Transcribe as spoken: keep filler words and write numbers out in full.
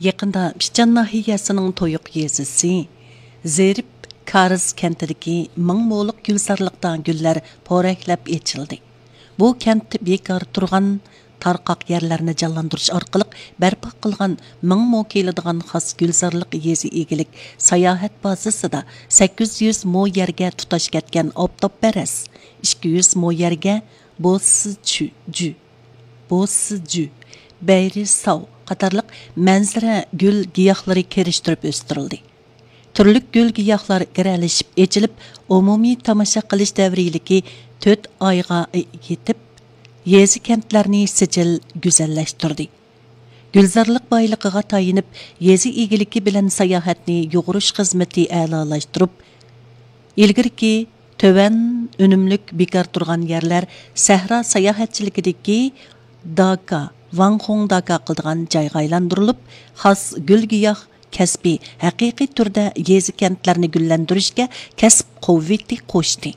يېقىندا پىچان ناھىيەسىنىڭ تويۇق يېزىسى زېرىپ كارىز كەنتىدىكى مىڭ مولۇق گۈلزارلىقتا گۈللەر پورەكلەپ ئېچىلدى. بۇ كەنت بىكار تۇرغان تارقاق يەرلەرنى جانلاندۇرۇش ئارقىلىق بەرپا قىلغان مىڭ مو كېلىدىغان خاس گۈلزارلىق يېزا ئىگىلىك ساياھەت بازىسىدا سەككىز يۈز مو يەرگە تۇتاش كەتكەن ئاپتاپپەرەس، ئىككى يۈز مو يەرگە بوسىجۈ، بوسىجۈ، بەيرىساۋ قاتارلىق مەنزىرە گۈل گىياھلىرى كىرىشتۈرۈپ ئۆستۈرۈلدى. تۈرلۈك گۈل گىياھلار گىرەلىشىپ ئېچىلىپ، ئومۇمىي تاماشا قىلىش دەۋرىيلىكى تۆت ئايغا يېتىپ، يېزا كەنتلەرنى سىجىل گۈزەللەشتۈردى. گۈلزارلىق بايلىقىغا تايىنىپ، يېزا ئىگىلىكى بىلەن ساياھەتنى يۇغۇرۇش خىزمىتى ئەلالاشتۇرۇپ، ئىلگىرىكى تۆۋەن ئۈنۈملۈك بىكار تۇرغان يەرلەر سەھرا ساياھەتچىلىكىدىكى داكا، ۋاڭخۇڭ داكا قىلىدىغان جايغا ئايلاندۇرۇلۇپ، خاس گۈل گىياھ كەسپى ھەقىقىي تۈردە يېزا كەنتلەرنى گۈللەندۈرۈشكە كەسىپ قۇۋۋىتى قوشتى.